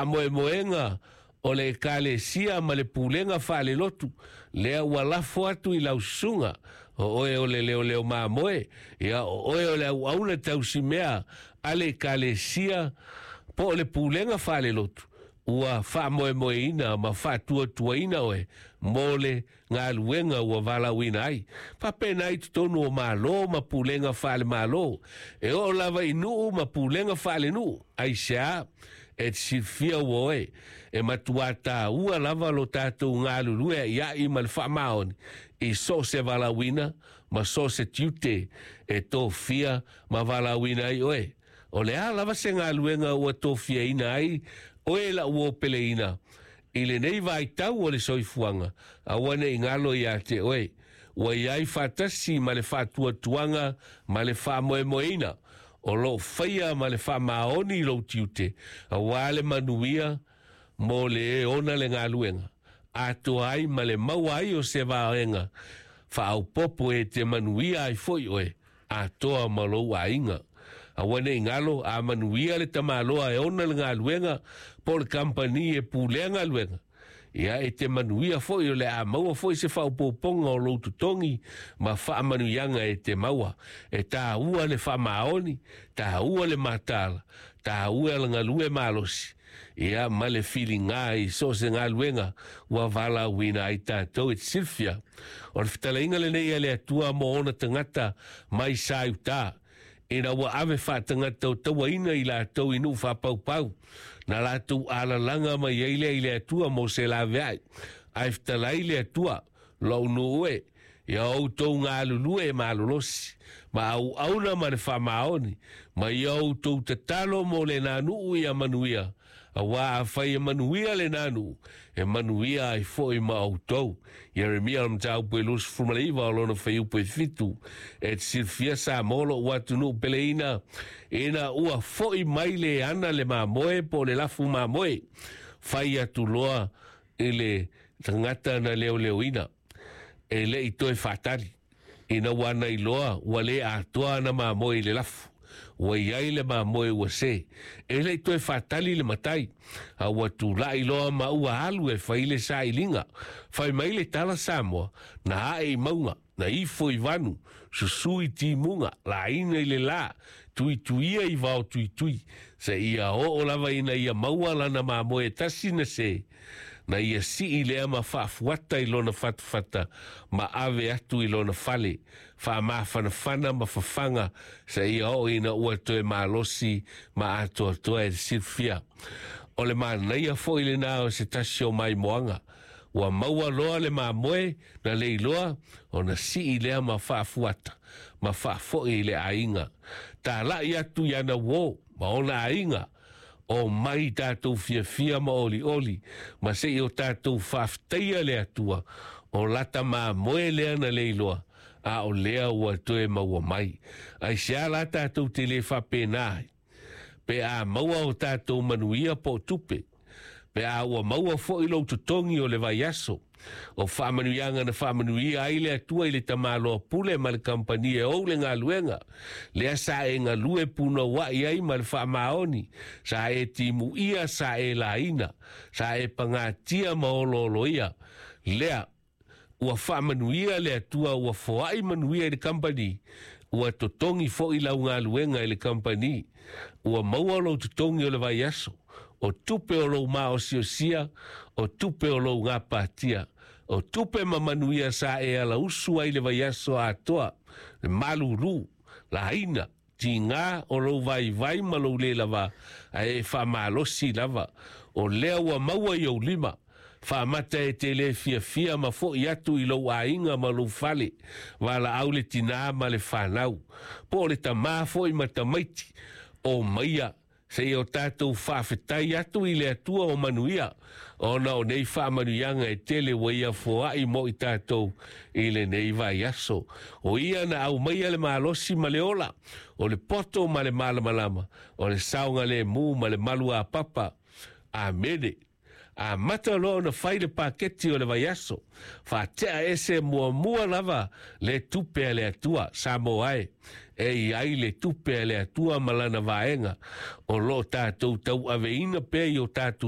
Faamoemoega o le Ekalesia ma le pulega faalelotu, lea ua lafo atu i lau susuga, o oe o le leoleo mamoe, ia o oe o le auauna tausimea a le Ekalesia po o le pulega faalelotu, ua faamoemoeina ma faatuatuaina oe mo le galuega ua valaauina ai. Faapena i totonu o Malo ma pulega faale-Malo, e oo lava i nuu ma pulega faalenuu. Aisea? E te silafia ua oe, e matuā taua lava lo tatou galulue a'ia'i ma le faamaoni i so o se valaauina ma so o se tiute e tofia ma valaauina ai oe. O le a lava se galuega ua tofiaina ai oe la'u uo peleina i lenei vaitau o le soifuaga, aua ne i galo iā te oe, ua i ai faatasi ma le faatuatuaga ma le faamoemoeina o loo faia ma le faamaoni lou tiute auā le manuia mo le e ona le galuega atoa ai ma le maua ai o se vaega faaopoopo e te manuia ai foi oe atoa ma lou aiga. Aua ne i galo, a manuia le tamaloa e ona le galuega po o le kamupani e pulea galuega, ia e te manuia foi, o le a maua foi se faaopoopoga o lou totogi ma faamanuiaga e te maua. E tāua le faamaoni, tāua le mataala, tāua le galue malosi, ia ma le filiga i so o se galuega ua valaauina ai tatou. E te silafia, o le fetalaiga lenei a le Atua mo ona tagata mai sa i uta, ina ua ave faatagata o tauaina i latou i nuu faapaupau, na latou alalaga mai ai lea i le Atua mo se laveai. Ae fetalai le Atua, Lou nuu e, ia outou galulue malolosi ma auauna ma le faamaoni, ma ia outou tatalo mo lenā nuu ia manuia, auā afai e manuia lenā nuu, e manuia ai foi ma outou. Ieremia o le mataupu e 29 o lona fuaiupu e 7. E te silafia Samoa lo'u atunuu peleina, ina ua fo'i mai le ana le mamoe po o le lafu mamoe, fai atu loa i le tagata na leoleoina, e le i toe faatali ina ua ana iloa ua lē atoa ana mamoe i le lafu, ua i ai le mamoe ua se. E le i toe faatali le matai, a ua tula'i loa ma ua alu e fai le sailiga. Fai mai le tala Samoa, na ae i mauga, na ifo i vanu, susū i timuga, laina i le lā, tuituia i vao tuitui, seia oo lava ina ia maua lana mamoe e tasi na se, na ia sii lea ma faafuata i lona fatafata ma ave atu i lona fale, faamafanafana ma fafaga seia oo ina ua toe malosi ma atoatoa. E silafia, o le manaia foi lenā o se tasi o maimoaga ua maua loa le mamoe na leiloa ona sii lea ma faafuata ma faafo'i i le aiga, tala'i atu i ana uō ma ona aiga o mai tatou fiafia ma olioli ma se'i o tatou faafetaia le Atua o lata mamoe lea na leiloa a o lea ua toe maua mai. Aisea la tatou te lē faapena ai pe a maua o tatou manuia po o tupe, pe a ua maua foi lou totogi o le vaiaso, o faamanuiaga na faamanuia ai le Atua i le tamaloa pule ma le kamupani e ou le galuega lea sa e galue punoua'i ai ma le faamaoni, sa e timuia, sa e laina, sa e pagatia ma olooloia lea ua faamanuia le Atua, ua foa'i manuia i le kamupani, ua totogi foi lau galuega i le kamupani, ua maua lou totogi o le vaiaso, o tupe o lou maosiosia, o tupe o lou gapatia, o tupe ma manuia sa e alausu ai le vaiaso atoa, le malūlū, laina, tigā o lou vaivai ma lou lē lavā, ae e faamalosi lava, o lea ua maua i ou lima, faamata e te lē fiafia ma fo'i atu i lou aiga ma lou fale, valaau le tinā ma le fanau, po o le tamā foi ma tamaiti, o maia seia o tatou faafetai atu i le Atua o manuia, ona o nei faamanuiaga e tele ua ia foa'i mo i tatou i lenei vaiaso. O ia na aumaia le malosi ma le ola, o le poto ma le malamalama, o le saogalēmū ma le maluapapa. Amene. Amata loa ona fai le paketi o le vaiaso, faatea ese muamua lava le tupe a le Atua. Samoa e, e i ai le tupe a le Atua ma lana vaega o loo tatou tauaveina pea i o tatou